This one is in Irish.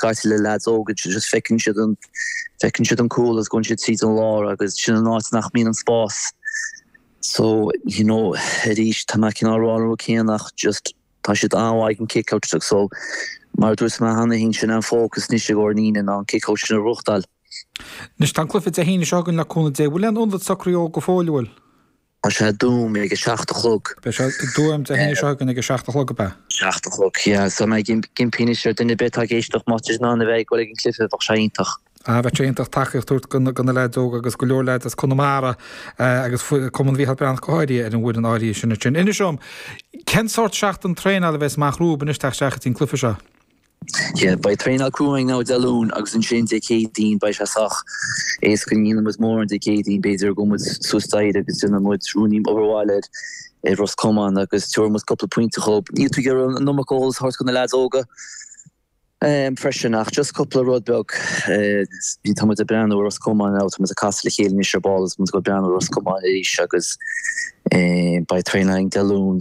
Caite le leaids óga, just feiceann siad an, feiceann siad an cúl agus gabhann siad tríd an lár agus sin an áit nach mbíonn an spás. So, you know, arís, tá mé cineál ag rá an rud céanna ach just tá siad an-mhaith ag an kick-out so mar a dúirt mé cheana féin, sin an fócas anois i gcomhair an Aoine ná an kick-out sin a ghnóthachtáil. Anois tá an cluiche Dé hAoine seo chugainn le cúnamh Dé. Bhfuil aon ionad socraithe go fóill, an bhfuil? Tá sé i dTuaim ag a 7 a chlog. Beidh sé i dTuaim Dé hAoine seo chugainn ag a 7 a chlog, ab ea? 7 a chlog, yeah. So mé ag impí anois ar duine ar bith atá ag éisteacht má tá siad in ann a bheith ag dul ag an cluiche, bheadh sé iontach. Ah, bheadh sé iontach tacaíocht a thabhairt do na leaids óga agus go leor leaids as Conamara agus Cumann Mhícheál Breathnach go háirithe ar an bhfoireann áirithe sin ansin. Inis dom, cén sórt seachtain traenála a bheas amach romhaibh anois teacht isteach go dtí an cluiche seo? Yeah, beidh traenáil crua againn now Dé Luain agus ansin Dé Céadaoin beidh sé sách éasca, ní dhéanfaidh muid mórán Dé Céadaoin, b'fhéidir go gabhfaidh muid suas staighre agus déanfaidh muid ruainnín obair bhaile ar ar Ros Comáin agus tabharfaidh muid cúpla pointe dhóibh. Níl tú ag iarraidh an iomarca eolas a thabhairt do na leaids óga freisin ach just cúpla rud beag. Bhí tá muid ag breathnú ar Ros Comáin now, tá muid ag casadh le chéile anois ar ball agus muid ag breathnú ar Ros Comáin arís agus beidh traenáil againn Dé Luain.